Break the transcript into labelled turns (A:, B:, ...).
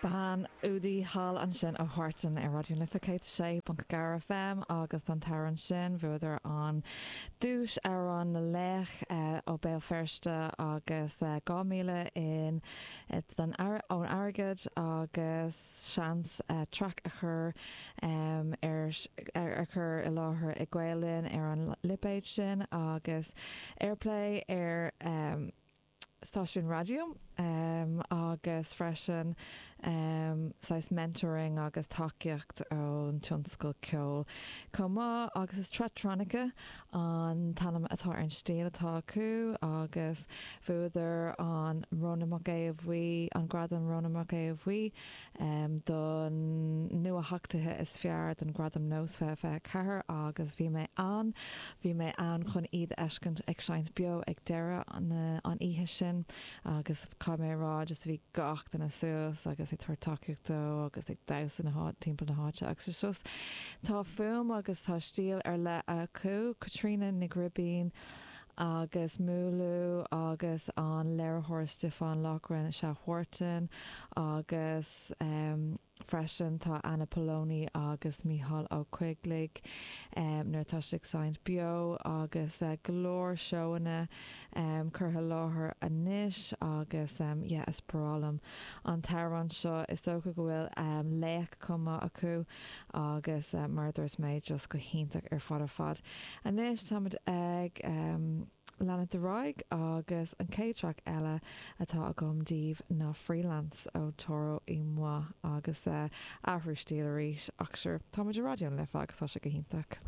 A: Bean údaí thall ansin ó Huartan ar Raidió na Life 106.4 FM agus don t-amhrán sin bhuadar an duais Amhrán na Laoch ó Béal Feirste agus 2,000 in don ón airgead agus seans traic a chur ar ar chur i láthair i Gael Linn ar an lipéad sin agus airplay ar stáisiún raidió agus freisin saghas mentoring agus tacaíocht ón tionscal ceoil chomh maith agus is Tretronica an t-ainm atá ar an stíl atá acu agus bhuadar an Rónán Mac Aodha Bhuí, an gradam Rónán Mac Aodha Bhuí don nuatheachtaithe is fearr don Gradam Nós 2024 agus bhí mé ann, bhí mé ann chun iad a fheiscint ag seinnt beo ag deireadh an an oíche sin agus caithfidh mé a rá just bhí gach duine suas agus ag tabhairt tacaíocht dó agus ag damhsa na háit timpeall na háite agus it's just tá fuaim agus tá stíl ar leith acu, Caitríona Nic Ghribín agus Múlú agus an léiritheoir Stiofán Loughran is ea Huartan agus freisin tá Anna Poloni agus Mícheál Ó Coigligh nuair atá siad ag seinnt beo agus go leor seóanna curtha i láthair anois agus yeah is breá liom an t-amhrán seo. Is dócha go bhfuil laoch chomh maith acu agus mar a dúirt mé just go hiontach ar fad ar fad. Anois táimid ag leanacht ar aghaidh agus an chéad traic eile atá agam daoibh ná Freelance ó Toro y Moi agus athrú stíl arís ach sure táimid i Raidió na Life agus tá sé go hiontach.